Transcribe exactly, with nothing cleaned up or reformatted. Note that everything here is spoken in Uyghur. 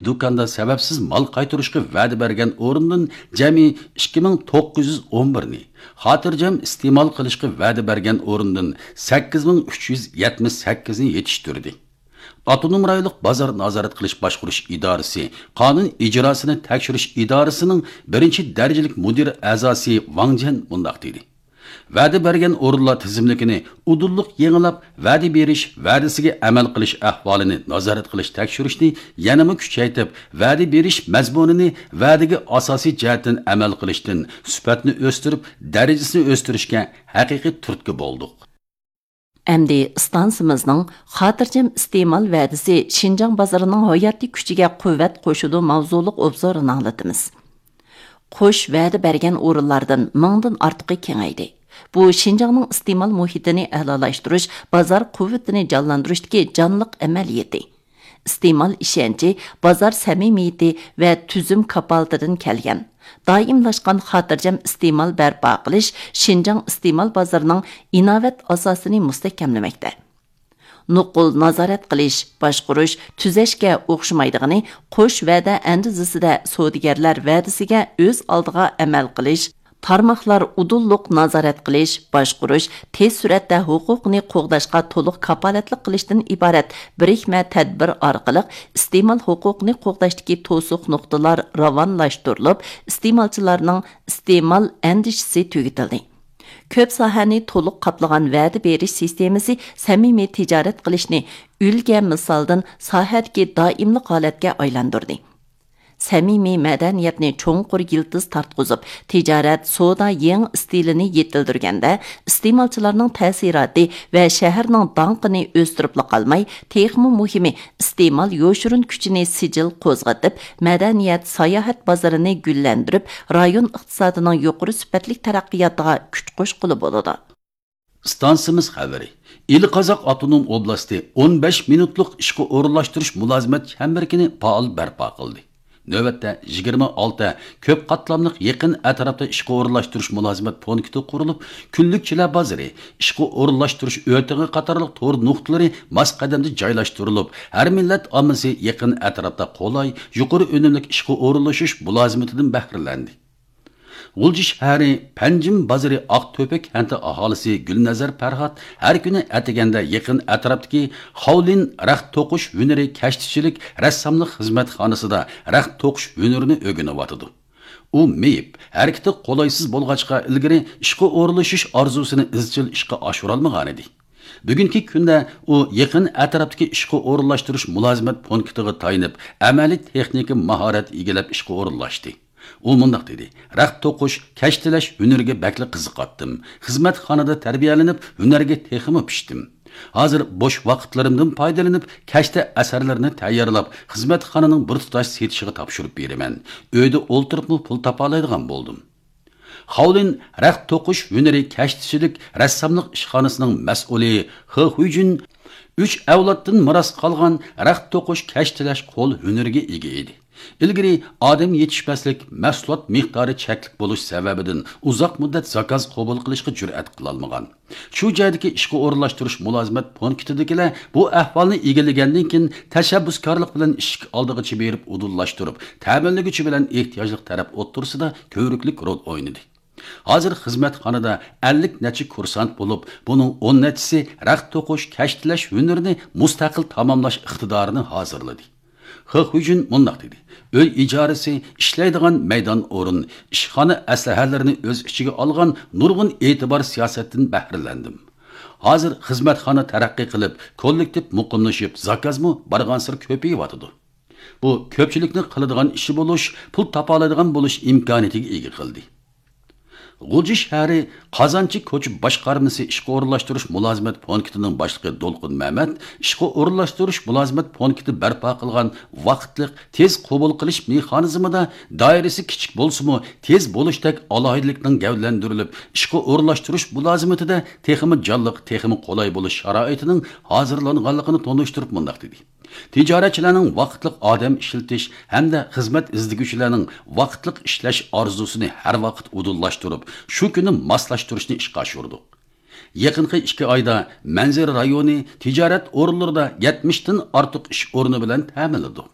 دۇكاندا سەۋەبسىز مال قايتۇرۇشقا ۋەدە بەرگەن ئورۇندىن جەمئىي ئىككى مىڭ توققۇز يۈز ئون بىرنى، خاتىرجەم ئىستېمال قىلىشقا ۋەدە بەرگەن ئورۇندىن سەككىز مىڭ ئۈچ يۈز يەتمىش سەككىزنى يېتىشتۈردى. ئاپتونوم رايونلۇق بازار نازارەت قىلىش باشقۇرۇش ئىدارىسى قانۇن ئىجراسىنى تەكشۈرۈش ئىدارىسىنىڭ بىرىنچى دەرىجىلىك مۇدىر ئەزاسى ۋاڭ جيەن مۇنداق دېدى: ۋەدە بەرگەن ئورۇنلار تىزىملىكىنى ئۇدۇللۇق يېڭىلاپ، ۋەدە بېرىش، ۋەدىسىگە ئەمەل قىلىش ئەھۋالىنى نازارەت قىلىش تەكشۈرۈشنى يەنىمۇ كۈچەيتىپ، ۋەدە بېرىش مەزمۇنىنى ۋەدىگە ئاساسىي جەھەتتىن ئەمەل قىلىشتىن سۈپەتنى ئۆستۈرۈپ، دەرىجىسىنى ئۆستۈرۈشكە ھەقىقىي تۈرتكە بولدۇق. ئەمدى ئىستانسىمىزنىڭ خاتىرجەم ئىستېمال ۋەدىسى شىنجاڭ بازىرىنىڭ ھاياتىي كۈچىگە قۇۋۋەت قوشىدۇ ماۋزۇلۇق ئوبزورىنى ئاڭلىتىمىز. قوش ۋەدە بەرگەن ئورۇنلاردىن مىڭدىن ئارتۇقى كېڭەيدى. بۇ شىنجاڭنىڭ ئىستېمال مۇھىتىنى ئەلالاشتۇرۇش، بازار قۇۋۋىتىنى جانلاندۇرۇشتىكى جانلىق ئەمەلىيىتى. ئىستېمال ئىشەنچى، بازار سەمىمىيىتى ۋە تۈزۈم كاپالىتىدىن كەلگەن. دائىملاشقان خاتىرجەم ئىستېمال بەرپا قىلىش شىنجاڭ ئىستېمال بازىرىنىڭ ئىناۋەت ئاساسىنى مۇستەھكەملىمەكتە. نوقۇل نازارەت قىلىش، باشقۇرۇش، تۈزەشكە ئوخشىمايدىغىنى، قوش ۋەدە ئەندىزىسىدە سودىگەرلەر ۋەدىسىگە ئۆز ئالدىغا ئەمەل قىلىش، تارماقلار ئۇدۇللۇق نازارەت قىلىش، باشقۇرۇش، تېز سۈرئەتتە ھوقۇقنى قوغداشقا تولۇق كاپالەتلىك قىلىشتىن ئىبارەت بىرىكمە تەدبىر ئارقىلىق ئىستېمال ھوقۇقىنى قوغداشتىكى توسۇق نۇقتىلار راۋانلاشتۇرۇلۇپ، ئىستېمالچىلارنىڭ ئىستېمال ئەندىشىسى تۈگىتىلدى. كۆپ ساھەنى تولۇق قاپلىغان ۋەدە بېرىش سىستېمىسى سەمىمىي تىجارەت قىلىشنى ئۈلگە مىسالدىن ساھەدىكى دائىملىق ھالەتكە ئايلاندۇردى. سەمىمىي مەدەنىيەتنى چوڭقۇر يىلتىز تارتقۇزۇپ، تىجارەت، سودا يېڭى ئىستىلىنى يېتىلدۈرگەندە، ئىستېمالچىلارنىڭ تەسىراتى ۋە شەھەرنىڭ داڭقىنى ئۆستۈرۈپلا قالماي، تېخىمۇ مۇھىمى، ئىستېمال يوشۇرۇن كۈچىنى سىجىل قوزغىتىپ، مەدەنىيەت، ساياھەت بازىرىنى گۈللەندۈرۈپ، رايون ئىقتىسادىنىڭ يۇقىرى سۈپەتلىك تەرەققىياتىغا كۈچ قوشقىلى بولىدۇ. ئىستانسىمىز خەۋىرى. ئىلى قازاق ئاپتونوم ئوبلاستى ئون بەش مىنۇتلۇق ئىشقا ئورۇنلاشتۇرۇش مۇلازىمەت چەمبىرىكىنى پائال بەرپا قىلدى. نۆۋەتتە يىگىرمە ئالتە كۆپ قاتلاملىق يېقىن ئەتراپتا ئىشقا ئورۇنلاشتۇرۇش مۇلازىمەت پونكىتى قۇرۇلۇپ، كۈنلۈكچىلەر بازىرى، ئىشقا ئورۇنلاشتۇرۇش ئۆتىقى قاتارلىق تور نۇقتىلىرى ماس قەدەمدە جايلاشتۇرۇلۇپ، ھەر مىللەت ئاممىسى يېقىن ئەتراپتا قولاي، يۇقىرى ئۈنۈملۈك ئىشقا ئورۇنلىشىش مۇلازىمىتىدىن بەھرىلەندى. غۇلجا شەھىرى پەنجىم بازىرى ئاقتۆپە كەنتى ئاھالىسى گۈلنەزەر پەرھات ھەر كۈنى ئەتىگەندە يېقىن ئەتراپتىكى خاۋلىن رەخت توقۇش ھۈنىرى كەشتىچىلىك رەسساملىق خىزمەتخانىسىدا رەخت توقۇش ھۈنىرىنى ئۆگىنىۋاتىدۇ. ئۇ مېيىپ، ھەرىكىتى قولايسىز بولغاچقا، ئىلگىرى ئىشقا ئورۇنلىشىش ئارزۇسىنى ئىزچىل ئىشقا ئاشۇرالمىغانىدى. بۈگۈنكى كۈندە ئۇ يېقىن ئەتراپتىكى ئىشقا ئورۇنلاشتۇرۇش مۇلازىمەت پونكىتىغا تايىنىپ، ئەمەلىي تېخنىكا ماھارەت ئىگىلەپ ئىشقا ئورۇنلاشتى. ئۇ مۇنداق دېدى: رەخت توقۇش، كەشتىلەش ھۈنىرىگە بەكلا قىزىقاتتىم. خىزمەتخانىدا تەربىيەلىنىپ، ھۈنەرگە تېخىمۇ پىشتىم. ھازىر بوش ۋاقىتلىرىمدىن پايدىلىنىپ، كەشتە ئەسەرلىرىنى تەييارلاپ، خىزمەتخانىنىڭ بىر تۇتاش سېتىشىغا تاپشۇرۇپ بېرىمەن. ئۆيدە ئولتۇرۇپمۇ پۇل تاپالايدىغان بولدۇم. خاۋلىن رەخت توقۇش ھۈنىرى كەشتىچىلىك رەسساملىق ئىشخانىسىنىڭ مەسئۇلى خې خۇيجۈن ئۈچ ئەۋلادتىن مىراس قالغان رەخت توقۇش، كەشتىلەش قول ھۈنىرىگە ئىگە ئىدى. ئىلگىرى ئادەم يېتىشمەسلىك، مەھسۇلات مىقدارى چەكلىك بولۇش سەۋەبىدىن ئۇزاق مۇددەت زاكاز قوبۇل قىلىشقا جۈرئەت قىلالمىغان. شۇ جايدىكى ئىشقا ئورۇنلاشتۇرۇش مۇلازىمەت پونكىتىدىكىلەر بۇ ئەھۋالنى ئىگىلىگەندىن كېيىن، تەشەببۇسكارلىق بىلەن ئىشىك ئالدىغىچە بېرىپ ئۇدۇللاشتۇرۇپ، تەمىنلىگۈچى بىلەن ئېھتىياجلىق تەرەپ ئوتتۇرىسىدا كۆۋرۈكلۈك رول ئوينىدى. ھازىر خىزمەتخانىدا ئەللىك نەچچە كۇرسانت بولۇپ، بۇنىڭ ئون نەچچىسى رەخت توقۇش، كەشتىلەش ھۈنىرىنى مۇستەقىل تاماملاش ئىقتىدارىنى ھازىرلىدى. خې خۇيجۈن مۇنداق دېدى: ئۆي ئىجارىسى، ئىشلەيدىغان مەيدان ئورۇن، ئىشخانا ئەسلىھەلىرىنى ئۆز ئىچىگە ئالغان نۇرغۇن ئېتىبار سىياسەتتىن بەھرىلەندىم. ھازىر خىزمەتخانا تەرەققىي قىلىپ، كوللېكتىپ مۇقىملىشىپ، زاكازمۇ بارغانسېرى كۆپىيىۋاتىدۇ. بۇ كۆپچىلىكنىڭ قىلىدىغان ئىشى بولۇش، پۇل تاپالايدىغان بولۇش ئىمكانىيىتىگە ئىگە قىلدى. غۇلجا شەھىرى قازانچى كوچا باشقارمىسى ئىشقا ئورۇنلاشتۇرۇش مۇلازىمەت پونكىتىنىڭ باشلىقى دولقۇن مەمەت ئىشقا ئورۇنلاشتۇرۇش مۇلازىمەت پونكىتى بەرپا قىلغان ۋاقىتلىق تېز قوبۇل قىلىش مېخانىزمىدا دائىرىسى كىچىك بولسىمۇ، تېز بولۇشتەك ئالاھىدىلىكنىڭ گەۋدىلەندۈرۈلۈپ، ئىشقا ئورۇنلاشتۇرۇش مۇلازىمىتىدە تېخىمۇ جانلىق، تېخىمۇ قولاي بولۇش شارائىتىنىڭ ھازىرلانغانلىقىنى تونۇشتۇرۇپ مۇنداق دېدى: تىجارەتچىلەرنىڭ ۋاقىتلىق ئادەم ئىشلىتىش ھەمدە خىزمەت ئىزدىگۈچىلەرنىڭ ۋاقىتلىق ئىشلەش ئارزۇسىنى ھەر ۋاقىت ئۇدۇللاشتۇرۇپ، شۇ كۈنى ماسلاشتۇرۇشنى ئىشقا ئاشۇردۇق. يېقىنقى ئىككى ئايدا مەنزىرە رايونى تىجارەت ئورۇنلىرىدا يەتمىشتىن ئارتۇق ئىش ئورنى بىلەن تەمىنلىدۇق.